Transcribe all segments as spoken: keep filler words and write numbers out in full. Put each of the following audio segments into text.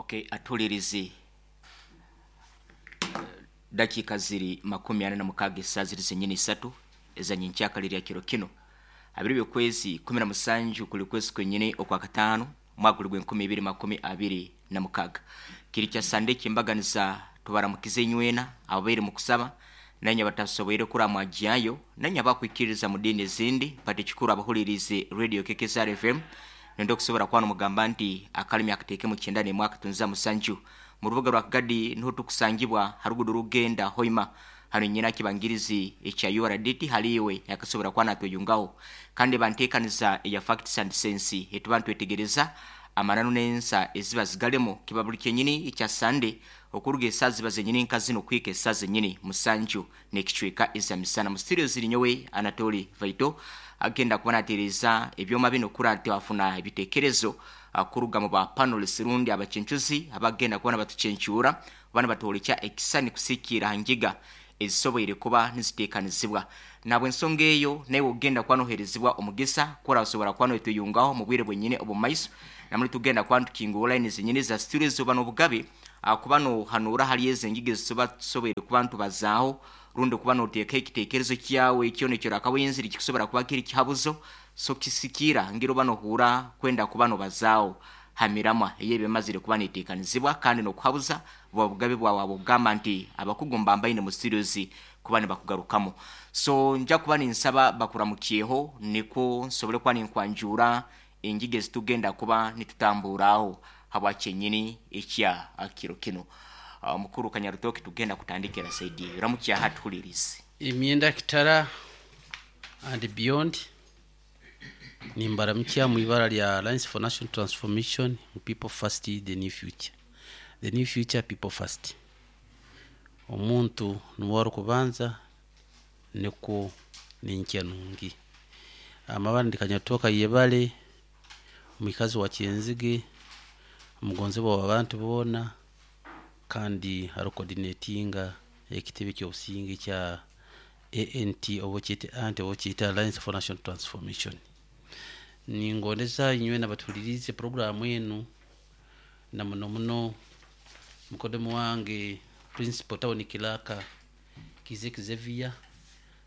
Okay, atulirizi dakika ziri makumi ana na mukaaga esaa ziri zenyini isatu ezanyenkyakala kiro kino abiri byokwezi kumi na musanju kuli kwezi kwenyini okwa katano mwaka guli gw'enkumi ibiri makumi abiri na mukaaga kiri kya sande kyembaganiza tubaramukize inywena ababaire mu kusaba nanye batasoboire kuramwajyayo nanye abakwikiriza mu dini ezindi pati kikuru abahulirize radio K K S R F M nendo okusobora kuba nomugamba nti akalimi akateeke mu kyenda n'emwaka tunza musanju mu rubuga rwa Kagadi niho tukusangibwa harugudo rugenda Hoima hano nyina kibangirizi ekya U R D T haliwe yakasobora kuba natweyungaho kandi banteekaniza eya facts and sense etuba ntwetegereza amananu n'ensa eziba zigalemo kiba buli kyenyini ekya Sunday okuruga esaa ziba zenyini nka zino kwika esaa zenyini musanju n'ekicweka eza misana mu studio ziri nyowe Anatoli Vaito agenda kuba nateereza ebyoma bino kura tewafuna ebitekerezo kuruga mu ba panelists rundi abacencuzi abagenda kuba batucencyura bana batolekya ekisani kusikira hangiga ezisoboire kuba niziteekanizibwa nabwe ensonga eyo nawe ogenda kuba noherezibwa omugisa kora osobora kuba noetuyungaho mu bwire bwenyine obumaiso namuli tugenda kuba ntukingura line zenyini za studio zoba n'obugabe kuba nohanura hali ezo engiga ezisoba tusoboire kuba ntubazaaho rundi kuba noteeka ekiteekerezo kyawe ekyo nekyo rakawenziri kikusobora kuba kiri kihabuzo so kisikira ngiro banohura kwenda kuba nobazaaho hamiramwa eyebemazire kuba neteekanizibwa kandi nokuhabuza bwa bugabe bwawe abugamba nti abakugumba mbaine mu studios kuba nibakugarukamo so nja kuba ninsaba bakuramukyeho niko nsobole kuba ninkwanjura engige zitugenda kuba nitutamburaho habwa kyenyini ekya akiro kino. Uh, mukuru Kanyarutoki tugenda kutandikira saidi ramukya hatuhulirize imyenda kitara and beyond nimbaramukya mu ibara lya Alliance for National Transformation, people first, the new future, the new future, people first. Omuntu nuwari kubanza niko ninkenungi amabandi Kanyatoka yebale mwikazi wa Kyenzige omugonzi wa abantu bona kandi ari coordinatinga ekitebe ky'obusinge kya A N T obo kyete anti obo kyete Alliance for National Transformation. Ningondeza inywe nabatulirize programu enu na muno muno mukodemu wange principal town kilaka Kizeki Xavier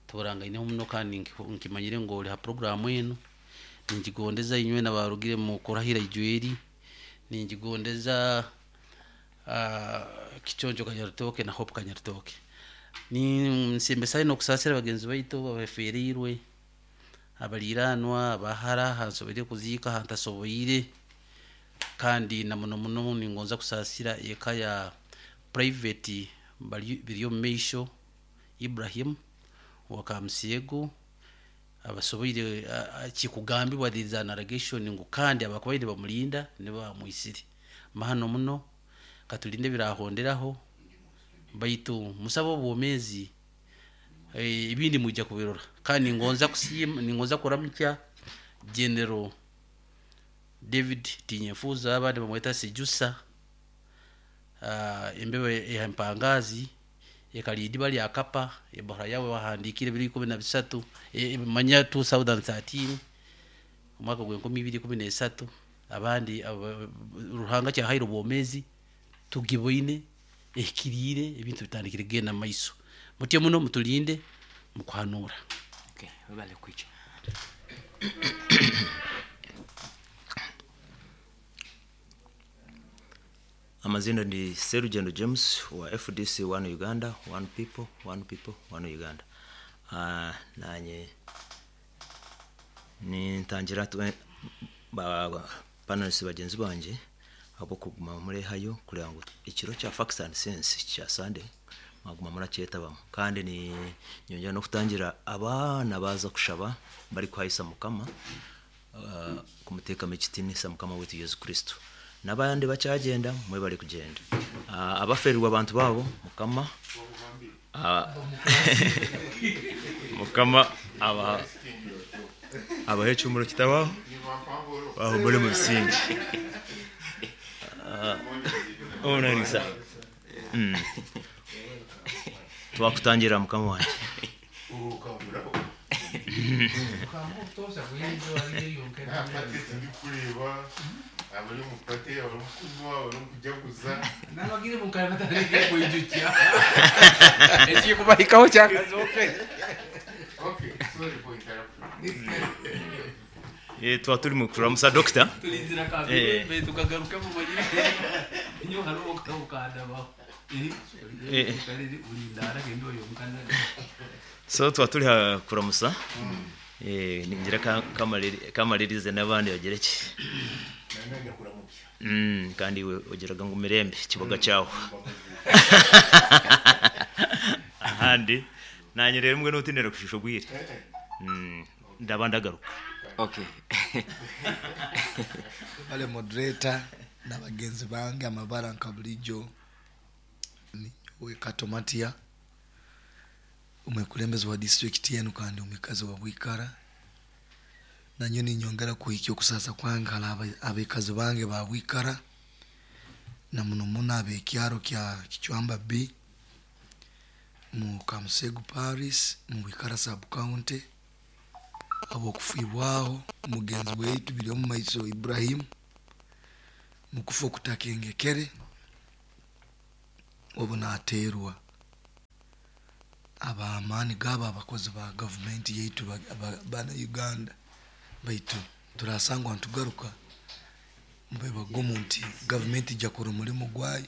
turangaine muno kandi nkimanyire ngo oli ha programu enu. Ninjigondeza inywe nabarugire mu kurahira ijweri, ninjigondeza uh, Kichonjo Kanyarutoke na Hope Kanyarutoke. Ni nsimbe no kusasira bagenzi baitu babeferirwe abaliranwa abahara hansobere kuzika hantasoboire kandi na muno muno ningonza kusasira eka ya private biriyo meisho Ibrahim wakamsiego abasoboire kikugambibwa there an allegation ngo kandi abakubaire bamulinda ne bamuisiri mahano muno katulinde birahonderaho baitu musabo obwomezi ebindi mujja kubirora. Kandi ngonza kusima ningonza kuramukya General David Tinyefuza abandi bamweta Sejusa uh, embebe ya mpangazi ekalidi bali akapa ebora yawe wahandikire biri kumi na bisatu e, manya two thousand thirteen omwaka gwe nkumi ibiri kumi n'esatu abandi ab, ruhanga kya hairo bomezi tugiboine ekirire ebintu bitandikire genda maiso mutye muno mutulinde mukwanura. Okay, webale kwicha. Amazina ndi Serugendo James wa F D C One Uganda, One People, One People, One Uganda. Uh, nanye ni ntangira tuwe ba panelists bagenzi banje abo kuguma muri hayo kugira ngo ikiro cya Facts and Sense cya Sunday maguma muracyeta kandi ni nyongera no kutangira abana baza kushaba bari kwahisa mukama uh, kumuteka mekitini samukama wetu Yesu Kristo nabandi bacyagenda mwe bari kugenda uh, abaferirwa abantu babo mukama uh, mukama aba abahe cyumuro kitabaho aho muri mu bisingi uh, onanisa mm. Twakutangira mukama wanje Abali omu party, abali omu kunywa, abali omu kujaguza. Nabagire mukare batareke kwijukya ekikubahikaho kyakazoke. Okay, sorry for interruption. Eh, tuba turi mu kuramusa doctor. Tulizira Eh. kabiri tukagaruka mu manyire inyo hariho ukandabaho. Eh. Ulindara gendo yo mukanda. So tuba turi ha kuramusa, eh ningira ka- kamaliri- kamalirize n'abandi bagire ki. Nanganya kuramukya. Mm, kandi we ogeraga ngo mirembe kiboga cyaho ahandi nanye rero mbwe nutinera kushusho bwire. Mm, ndaba ndagaruka. Okay. Bale moderator na bagenzi bange amabara nka bulijjo, ninyowe Katomatia, omwekulembezi wa district yenu kandi omwikazi wa Bwikara. Nanyo ninyongera kuhikya okusasa kwange hali aba- abekazi bange ba Bwikara na muno muno abekyaro kya Kichwamba B mu Kamusegu Paris mu Bwikara sub county, abokufibwaho mugenzi weitu biri omu maiso Ibrahim mukufa okutakengekere obu naterwa abamaani gabo abakozi ba gavumenti yaitu ba- ba- bana Uganda. Baitu turasangwa ntugaruka mube bagumu nti gavumenti ijja kora omulimu gwayo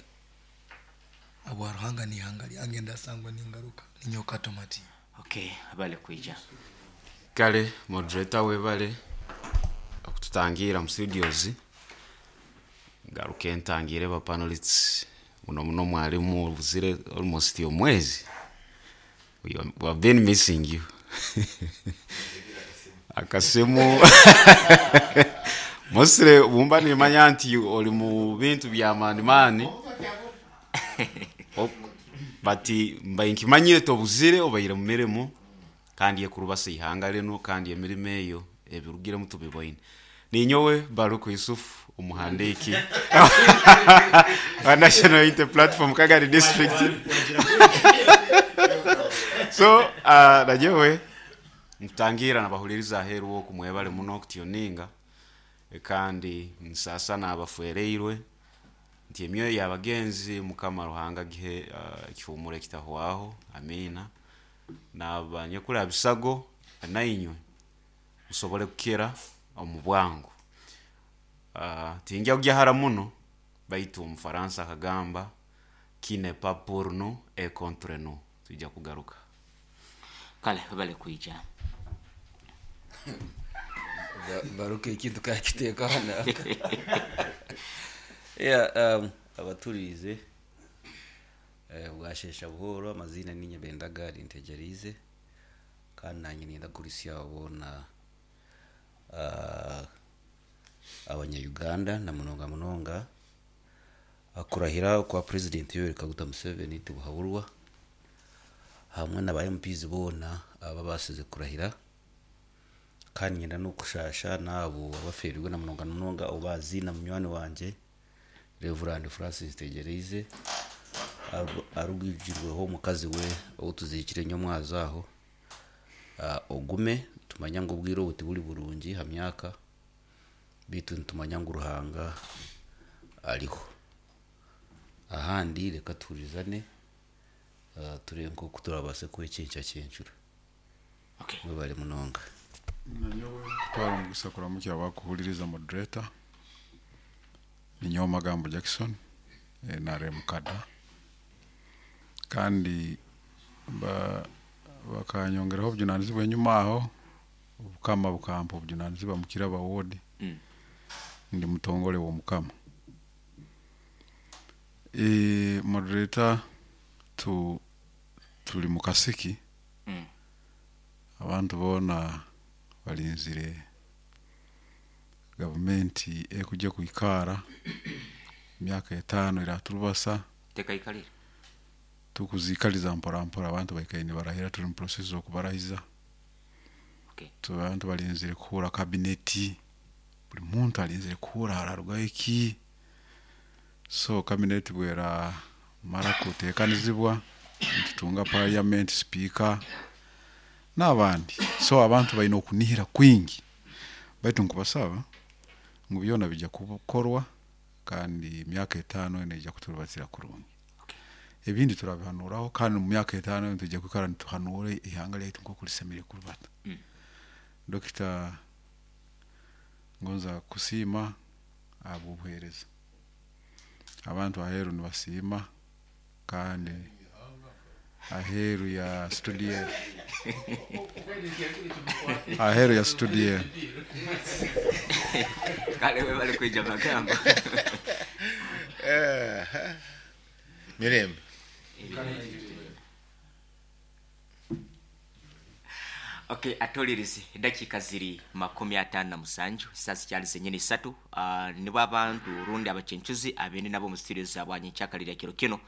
abwa Ruhanga n'ihanga lyange ndasangwa ningaruka. Ninyoka Tomati. Okay, bale kwija. Kale moderator, webale okututangira mu studios. Ngaruke ntangire ba panelists muno muno mwalimu obuzire almost omwezi. we are- we have been missing you. Akasimu mostly bumba nimanya nti oli mu bintu bya maani maani. Ok, but mbaye nkimanyire tobuzire, obaire mu mirimu kandi ekurubasa ihanga lino kandi emirimo eyo ebirugiremu tubiboine. Ninyowe Baruku Yusuf, umuhandiki wa National Unity Platform Kagari District. So uh, najewe nkutangira nabahuliriza aheru wo kumwebale muno okutioninga, kandi nsasa nabafuereirwe nti emyoyo y'abagenzi Mukama Ruhanga gihe uh, ekihumuro ekitahwaho, amina. Nabanyekula bisago nainywe musobole kukira omu bwangu. uh, tinjya kujya muno, baitu omufaransa akagamba qui n'est pas pour nous est contre nous. Tujja kugaruka. Kale bale kwija. Ba- baruke ekintu kakiteeka hano. Yeah, um, abaturize eh, bwashesha buhoro. Amazina ni Nyabendaga Rintegerize kandi nanye ninda kurisya bona uh, abanya-Uganda na munonga munonga akurahira kwa President Yoweri Kaguta Museveni tibuhaburwa hamwe na ba M Ps bona aba basize kurahira. Kandi ngenda no kushasha nabo abaferirwe na munonga munonga obazi na munywani wanje Reverend Francis Tegereize aru- arugijirweho omukazi we outuzikire nyomwazo aho. uh, ogume tumanya ngu obwire obu tiburi burungi ha myaka bitu, nitumanya ngu Ruhanga ariho. Ahandi reka tuhurizane, uh, turebe nkoku turabase kwekyenkya kyencura. Okay. Mwebale munonga. Nanyowe kutwara omugisa kuramukira bakuhuliriza moderator. Ninyowe Magambo Jackson, eh, N R M cadre, kandi ba- bakanyongeraho obujunanizibwa enyuma aho, obukama bukampa obujunanizibwa mukiraba ward. Mm. Ndi mutongole w'omukama. E, moderator, tu tuli mu kasiki. Mm. Abantu boona balinzire gavumenti ekujja kwikara emyaka etaano eraturubasa. Tekaikalire. Tukuzikaliza mpora mpora, abantu baikaire nibarahira, tuli mu process okubarahiza. Okay. Tu abantu balinzire kuhura kabineti, buli muntu alinzire kuhura hararugayo ki. So kabineti bwera mara kutekanizibwa, nitutunga parliament speaker n'abandi. So abantu balina okunihira kwingi, baitu nkubasaba Ngu byona bijja kukorwa kandi emyaka etaano neija kuturubatira kurungi. Ebindi turabihanuraho kandi mu myaka etaano tujja kwikara nituhanura ihanga lyaitu nk'oku lisemeriire kurubata. Mm. Dokita, ngonza kusiima ahabw'obuheereza. Abantu aheeru nibasiima kandi aheeru ya studio, aheeru ya studio. Kale we bali kwija magambo. Eh, mirembe. Okay, atolirizi dakika ziri makumi atano na musanju sasa kyali zenyini isatu. uh, nibo abantu rundi abachenchuzi abende nabo mu studio zabwanye nchakalira kiro kino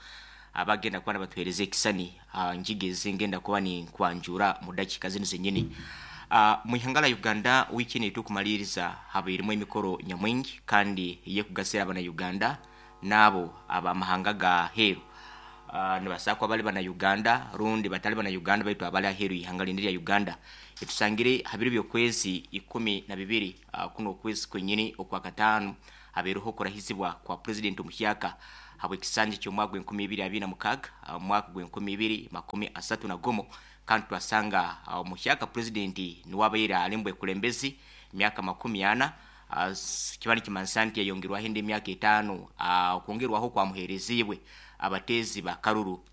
abagenda kuba nabatuhereza ekisani uh, njigeze ngenda kuba ni kwanjura mu dakika zino zenyini. uh, mu ihanga la Uganda wiki ni tukumaliriza habairimo emikoro nyamwingi kandi ye kugasira abana Uganda nabo abamahanga ga heru. Uh, nibasakwa bali bana Uganda rundi batali bana Uganda baitu abali aheru ihanga lindi lya Uganda. Etusangire habiri byokwezi ikumi na bibiri uh, kuno kwezi kwenyini okwa katano haberuho kurahizibwa kwa president omuhyaka habwe kisanje ky'omwaka gw'enkumi ibiri abiri na mukaga uh, mwaka gw'enkumi ibiri makumi asatu na gumu. Kandi twasanga omuhyaka uh, president niwabaire alimbwe kulembezi myaka makumi ana. uh, kibani kimansanti yayongerwaho indi myaka etaano uh, okwongerwaho kwamuherezibwe abatezi ba Karuru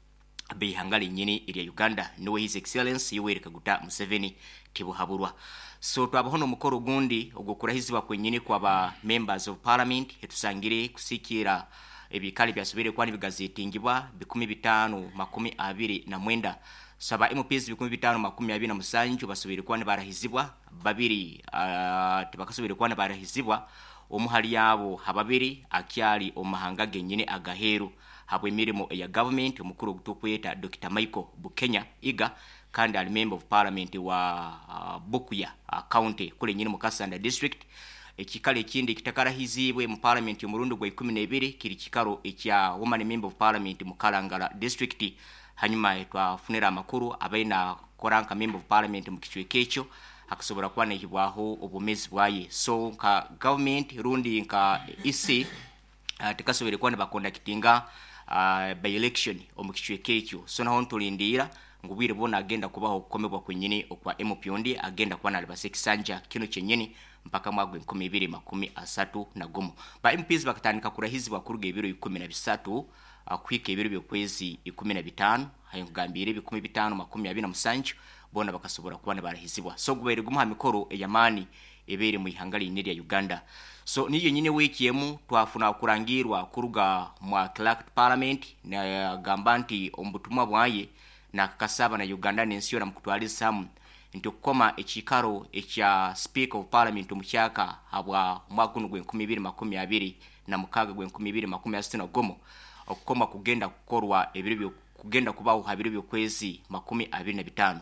bihanga linyini ilya Uganda niwe His Excellency Yoweri Kaguta Museveni tibuhaburwa. So twabaho n'omukoro gundi ogwokurahizibwa kwenyini kwa ba members of parliament etusangire kusikira ebikali byasubire kwani bigazetingibwa bikumi bitano makumi abiri na mwenda. Saba M Ps bikumi bitano makumi abiri na musanju basubire kwani barahizibwa babiri uh, tibakasubire kwani barahizibwa omuhali yabo hababiri akyali omahanga genyine agaheru habwe emirimo ya government omukuru ogutukweta Doctor Michael Bukenya Iga kandi ali member of parliament wa uh, Bukuya uh, county kule nyini Mukasanda district. Ekikalo ekindi kitakarahizibwe mu parliament omurundi gwa ikumi na ibiri kiri kikaro ekya woman member of parliament mu Kalangala district. Hanyuma twafunira amakuru abaina koranka member of parliament mu kichweka ekyo akasobora kuba nehibwaho obumezi bwaye. So nka government rundi nka E C uh, tikasobere kuba nibakondakitinga uh, by election omu kichweka ekyo. So naho ntulindira ngu bwire bwona agenda kubaho okukomebwa kwenyini okwa M P ondi agenda kuba nalibasa ekisanja kino kyenyini mpaka mwaka gw'enkumi ibiri makumi asatu na gumu. Ba M Ps bakatandika kurahizibwa kuruga ebiro ikumi na bisatu uh, kuhika ebiro by'okwezi ikumi na bitaano hayongambire ebikumi bitaano makumi abiri na musanju bona bakasobora kuba nibarahizibwa. So gubaire gumuha mikoro eyamani ebere mu ihanga linene lya Uganda. So niyo nyine wiki emu twafuna kurangirwa kuruga mwa clerk parliament na gamba nti omubutumwa bwaye na kakasaba na Uganda n'ensi yona mukutwalizamu nti okukoma ekikaro ekya speaker of parliament omukyaka habwa omwaka guno gw'enkumi ibiri makumi abiri na mukaga gw'enkumi ibiri makumi asatu na gumu okukoma kugenda kukorwa ebiro byo kugenda kubaho habiro by'okwezi makumi abiri na bitaano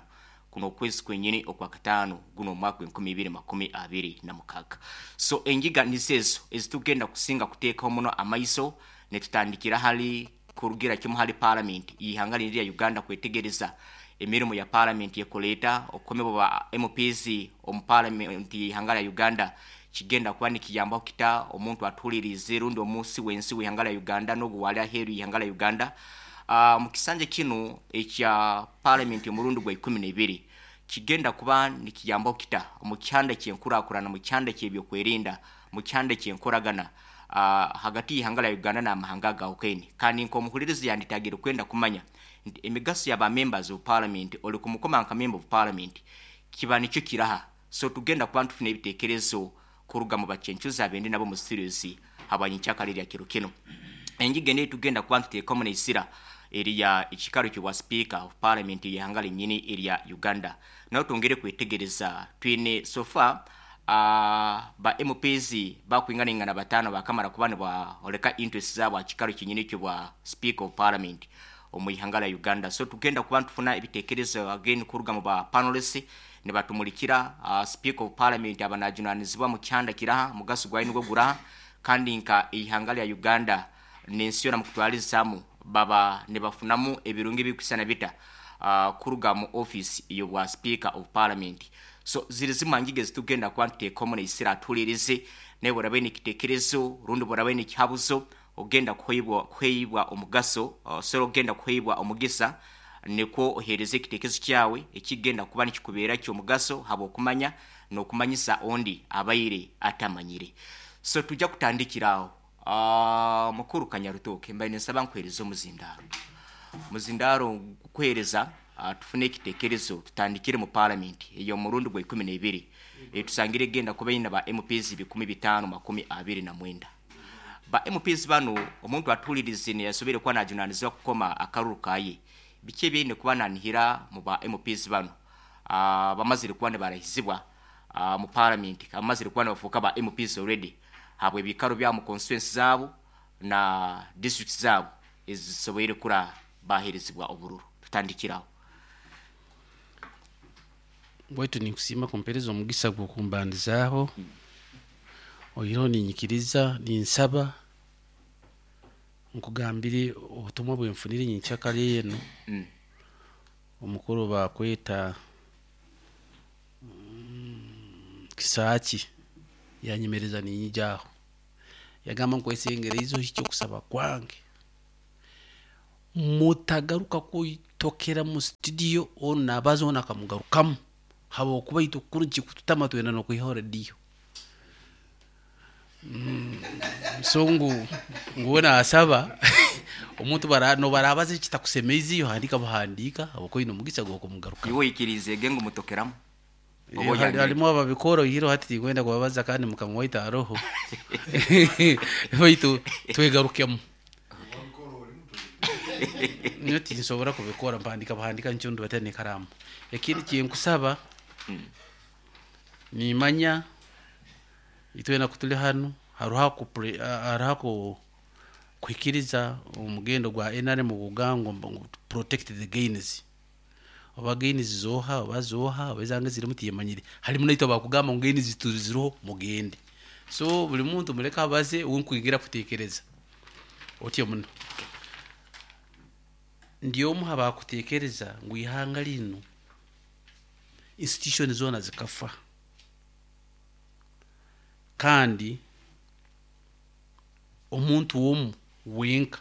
kuno kwezi kwenyini okwa katano guno omwaka gw'enkumi ibiri makumi abiri na mukaga. So enjiga nizezo ezitugenda kusinga kuteekaho muno amaiso netutandikira hali kurugira kimu hali parliament ihanga lya Uganda kwetegereza emirimu ya parliament yekoleta okomebwa ba M Ps omu parliament ihanga lya Uganda kigenda kuba nikiyambaho kita omuntu atulirize rundi omunsi wensi w'ihanga lya Uganda n'oguwali aheeru ihanga lya Uganda. Uh, mu kisanja kino ekya parliament omurundi gwa ikumi na ibiri kigenda kuba nikiyambaho kita mu kyanda ky'enkurakurana mu kyanda ky'ebyokwerinda mu kyanda ky'enkoragana uh, hagati y'ihanga lya Uganda n'amahanga agahukene. Kandi nk'omuhulirizi yanditagire kwenda kumanya nti emigaso y'aba members of parliament oli kumukoma nka member of parliament kiba nikyo kiraha. So tugenda kuba ntufuna ebitekerezo kuruga mu bachenchuzi abende nabo mu studios habwanyikyakali lya kiro kino. Enjiga ene tugenda kuba ntuteekamu n'esira eriya ekikaro ky'obwa speaker of parliament y'ihanga linnyini erya Uganda. Naho twongere kwetegereza twine so far uh, ba M Ps bakwinganingana batano bakamara kuba nibaoleka interest zaabo aha kikaro kyenyini ky'obwa speaker of parliament omu ihanga lya Uganda. So tugenda kuba ntufuna ebitekerezo again kuruga mu ba panelists nibatumulikira uh, speaker of parliament abanajunanizibwa mu kyanda kiraha mugaso gwayi nigwo guraha kandi nka ihanga lya Uganda n'ensi yona mukutwalizamu baba nibafunamu ebirungi bikusana bita uh, kuruga mu office y'obwa speaker of parliament. So ziri zimwe ngige zitugenda kuba ntuteekamu n'esira atulirize Naye bw'oraba oine ekiteekerezo rundi bw'oraba oine ekihabuzo ogenda kuheibwa kuheibwa omugaso, osobola ogenda kuheibwa omugisa nikwo oheereze ekiteekerezo kyawe ekigenda kuba nikikubeera ky'omugaso habw'okumanya n'okumanyisa ondi abaire atamanyire. So tujja kutandikira aho. Uh, mukuru Kanyarutoke, mbaire ninsaba nkuheereza omuzindaaro. Muzindaaro kuheereza uh, tufune ekiteekerezo tutandikire mu parliament ey'omurundi gwa ikumi n'ebiri. E, tusangire genda kuba ina ba M Ps bikumi bitaano makumi abiri na mwenda. Ba M Ps bano omuntu atuulirize neyasobere kuba najunanizibwa kukoma akaruru kaye. Biki ebyine kuba nanihira mu ba M Ps bano uh, bamazire kuba nibarahizibwa uh, mu parliament, bamazire kuba nibafuuka ba M Ps already habwe ebikaro bya mu constituency zabo na district zabo ezisoboire kura baherezibwa obururu. Tutandikiraho. Bwaitu ninkusiima kumpereza omugisa gw'okumbandizaaho. Oihireho ninyikiriza ninsaba nkugambire obutumwa bwenfunire nyenkyakare eno. Mm. Omukuru bakweta mm, Kisaaki yanyemereza ninyijaho, yagamba nkwesengereize ohikye okusaba kwange, mutagaruka kuitokera mu studio ono nabaza ono akamugarukamu habwokuba itwe kuru kikututama twenda n'okwihaho rediyo. Mm, so ngu nguwe nasaba omuntu bara nobarabaza ekitakusemeize yohandika buhandika habwokuba oine omugisa gw'okumugarukamu. Iwe oikirize ngu mutokeramu? Eh, hali- halimu ababikora oihire hati tinkwenda kubabaza kandi mukama waitu aroho. Baitu twegarukemu. Nyo tinsobora kubikora, mpandika buhandika nkyondu batera n'ekaramu. Ekindi kyenkusaba, nimanya itwena kutuli hanu haruho kupre-, haruho ku-, kuhikiriza omugendo gwa N R M gugangwa ngu protect the gains. Oba gains zoha oba zoha oba ezange zirimu tiyemanyire. Halimu naitwe bakugamba ngu gains tuziroho mugende. So buli muntu muleka abaze unkwigira kutekereza. Otyo muno. Ndi omu abakutekereza ngu ihanga lino institution zona zikafa. Kandi omuntu omu wenka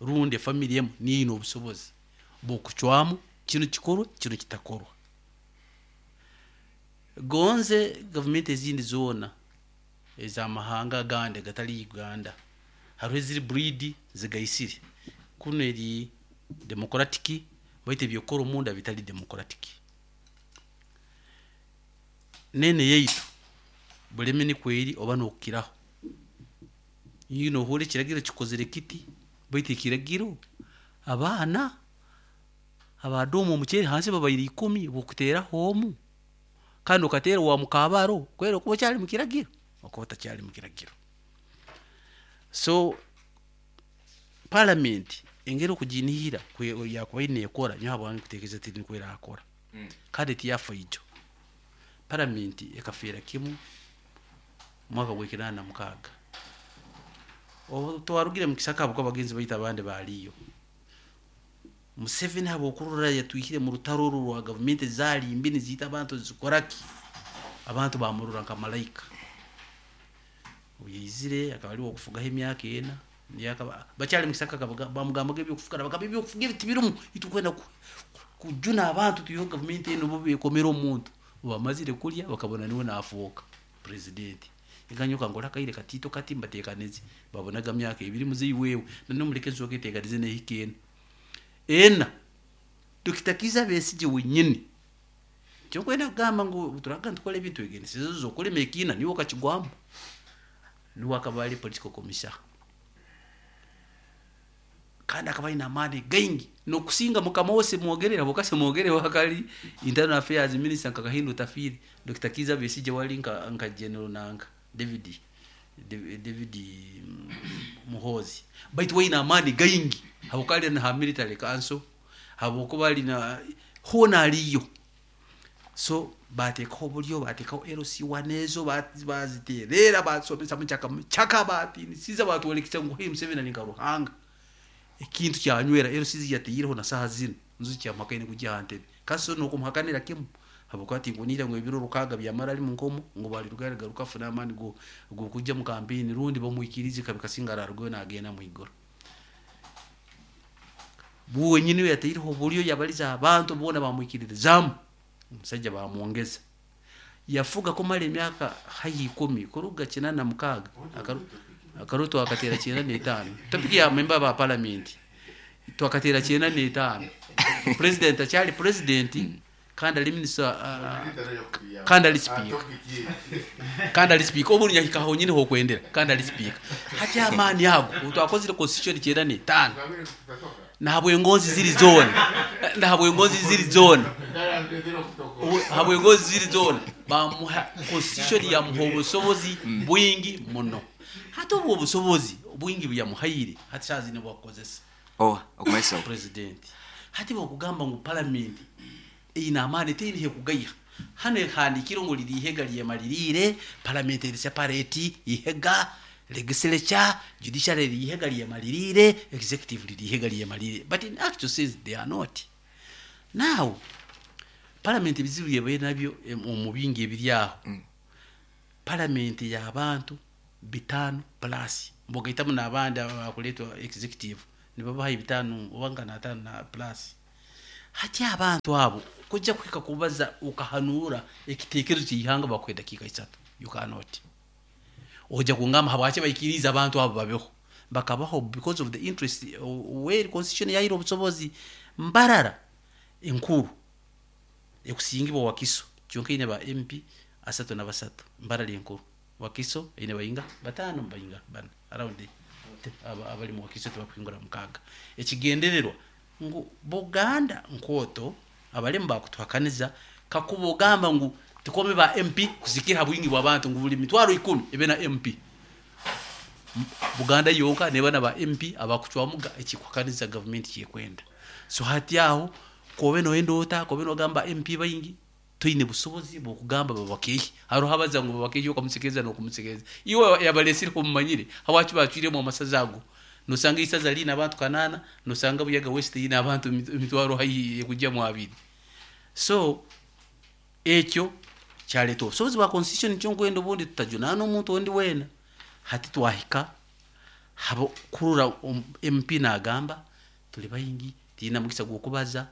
rundi family emu niyo obusobozi bw'okucwamu kino kikorwa kino kitakorwa. Gonze gavumenti ezindi zoona ez'amahanga agandi gatali Uganda hariho eziri breed zigaisire, kuno eri democratic baitu ebyokora omunda bitali democratic. Nene yaitu bulemi nikweri oba n'okukiraho. Yino ohura ekiragiro kikozire kiti baitu ekiragiro abaana abadomu omuceeri hansi babaire ikumi bokuteraho omu kandi okateera wa mukabaro kwera okuba okyali mu kiragiro okuba otakyali mu kiragiro. So parliament engeri okuginihira yakuba ine ekora nyowe habwange kutekereza ti nikwo erakora. Mm. Kandi tiyafa ijo. Parliament ekafeera kimu mwaka gw'ekinana na mukaaga. Obu twarugire mu kisaka habwokuba abagenzi baitu abandi baaliyo. Museveni habwokurora yatwihire mu rutaro oru rwa gavumenti zaali mbi niziita abantu zikoraki, abantu bamurora nka malaika. Obu yaizire akaba ari owokufugaho emyaka ena, niyo akaba bakyali mu kisaka akabaga-, bamugambaga ebyokufuga, nabagamba ebyokufuga ebi tibirimu, itwe kwenda ku-, kujuna abantu tuiheho gavumenti enu obu beekomera omuntu. Obu bamazire kurya bakabona niwe naafuuka purezidenti. Nkanyoka nkora akaire katiito kati mbateekanize, babonaga myaka ebiri muzeeyi wewe, nane omureke ensooka eteekanize n'ehika ena. Ena Dokita Kiiza Besigye wenyini. Kyokwenda kugamba ngu turaga nitukora ebintu egenisizo zokulema ekiina niwe okakigwamu. Niwe akaba ari political commissioner. Kandi akaba aine amaani gaingi n'okusinga mukama wose mwogerera bukase mwogere wakali internal affairs minister nka Kahinda Otafiire. Dokita Kiiza Besigye wali nka, nka general nanka David, David, David Muhoozi. Baitu waine amaani gaingi habwokuba ali na military council, habwokuba ali na hoona aliyo. So bateekaho oburyo, bateekaho L C one ezo, baziteerera, basomesa mukyaka mukyaka, batiinisiza, batworekesa ngu hei Museveni ari nka Ruhanga. Ekintu kyanywera L C yateireho na saaha zinu nzu kyamuhakaine kugya aha ntebe. Kasi so n'okumuhakanira kimu Habwokuba tinkunihira ngu ebiro rukaaga byamara ali munkomo ngu balirugayo aligaruka afune amaani go g'okujja mu kampeni, rundi bamwikirize kabi kasinga ararugayo nagenda mwiguru. Wenyini yataireho obulyo, yabaliza abantu boona bamwikiririzaamu, omusajja bamwongeza. Yafuga kumara emyaka haihi ikumi, kuruga kinana na mukaaga akaru twakateera kyenda n'etaano. Topic ya member ba parliament twakateera kyenda n'etaano. President akyali president kandi ali minister, uh, kandi ali speaker, kandi ali speaker obu nyahika honyine hokwendera, kandi ali speaker. Hati amaani ago twakozire constitution kyenda n'etaano, nahabwengonzi ziri zoona, nahabwengonzi ziri zoona, habwengonzi ziri zoona bamuha constitution yamuha obusobozi bwingi muno. Hati obwo obusobozi bwingi buyamuhaire, hati saaha zino bwakukozesa Oh, okumaiso president. Hati bokugamba ngu parliament eyina amaani, teyine hekugaiha. Hano ehandikire ngu liri ihega lyemaliriire, parliament eri separate ihega, legislature, judiciary riri ihega lyemaliriire, executive riri ihega lyemaliriire, but in actual sense they are not. Now parliament ebizibu byebaire nabyo omu bingi ebiri aho, mm. Parliament y'abantu bitaano plus, mbogaitamu n'abandi abakuleetwa executive nibabaha ebitaano oba nka n'ataano na plus. Hati abantu abo kujja kuhika kubaza ukahanura ekitekerezo ky'ihanga bakuha edakiika isatu, you cannot. Ojja kungamba habwaki baikiriza abantu abo babeho? Bakabaho because of the interest where constitution yaire obusobozi. Mbarara enkuru ekusingibwa Wakiso kyonka ine ba M P asatu na basatu. Mbarara enkuru, Wakiso ine bayinga batano, bayinga bana around abali mu Wakiso tebakuhingura mukaaga. Ekigendererwa ngu Buganda nkooto abalemu bakutuhakaniza kakuba ogamba ngu tukome ba M P kusikira bwingi bw'abantu, ngu buli mitwaro ikumi ebe na M P. Buganda yonka neba na ba M P abakucwamuga ekikuhakaniza gavumenti kyekwenda. So hati aho kobe noyenda ota kobe nogamba M P baingi, toine busobozi bwokugamba babakehi. Hariho abaza ngu babakehi, okamusekereza n'okumusekereza iwe yabalesire omumanyire habwaki bacwiremu amasaza ago. Nosanga isaza liine abantu kanaana, nosanga Buyaga West yiine abantu emitwaro haihi ekujjamu abiri. So ekyo kyaleeta obusobozi bwa constitution. Nikyo nkwenda obundi tutajunaana omuntu ondi weena. Hati twahika habo kurora M P nagamba tuli baingi, tiina mugisa gw'okubaza,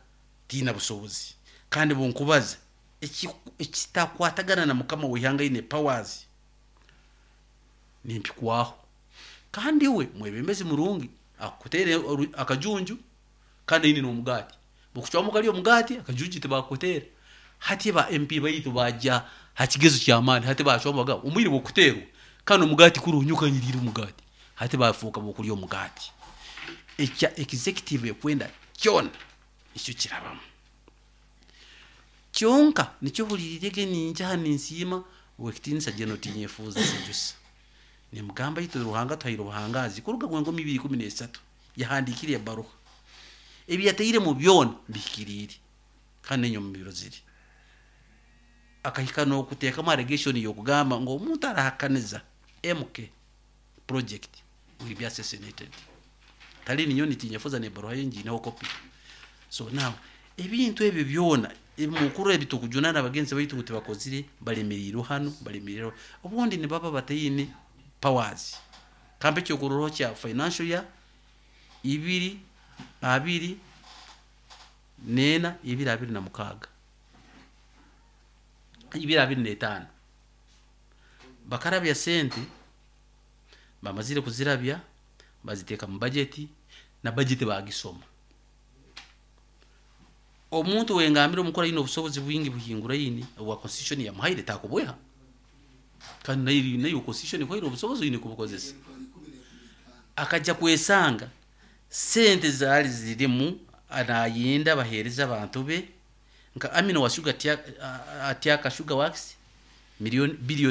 tiina busobozi, kandi bunkubaza ekitakwatagana na mukama w'ihanga ine powers nimpikwaho. Kandi we mwebembezi murungi akutere akajunju kandi aine n'omugaati, bukucwamu kali omugaati, akajunju tibakutera. Hati ba M P baitu bajja hakigezo kyamaani, hati bacwamu baga omwire bwokuterwa kandi omugaati kurunyuka nyirire omugaati, hati bafuuka bokulya omugaati. Ekya executive ekwenda kyona nikyo kirabamu kyonka. Nikyo hulirirege ninjaha ninsiima wekitinisa jeno tinyefuuza sejusa nimugamba itwe Ruhanga tuhaire obuhangazi kuruga gwenkomi ibiri ikumi n'esatu yahandikire ebaruha ebi yataire mu byona bihikiriire kandi nenyo mu biro ziri akahika n'okuteekamu allegation y'okugamba ngu omuntu arahakaniza M K project will be assassinated. Tali ninyo nitinyefuza n'ebaruha ye ngiineho copy. So now ebintu ebyo byona ebimukuru ebitukujunana abagenzi baitu ngu tibakozire, balemeriirwe hano, balemeriirwe obundi nibaba bataine powers. Kampe ekyokurorraho kya financial year ibiri abiri neena ibiri abiri na mukaaga ibiri abiri n'etaano, bakarabya sente, bamazire kuzirabya baziteeka mu bajeti, na bajeti bagisoma. Omuntu wengambire omukuru aine obusobozi bwingi buhinguraine obwa constitution yamuhaire takubweha, kandi nayo nayo constitution ekuhaire obusobozi oine kubukozesa. Akajja kwesanga sente zaali zirimu anayenda baheereza abantu be nka Amino wa Sugar Atiaka Sugar Works milioni billion.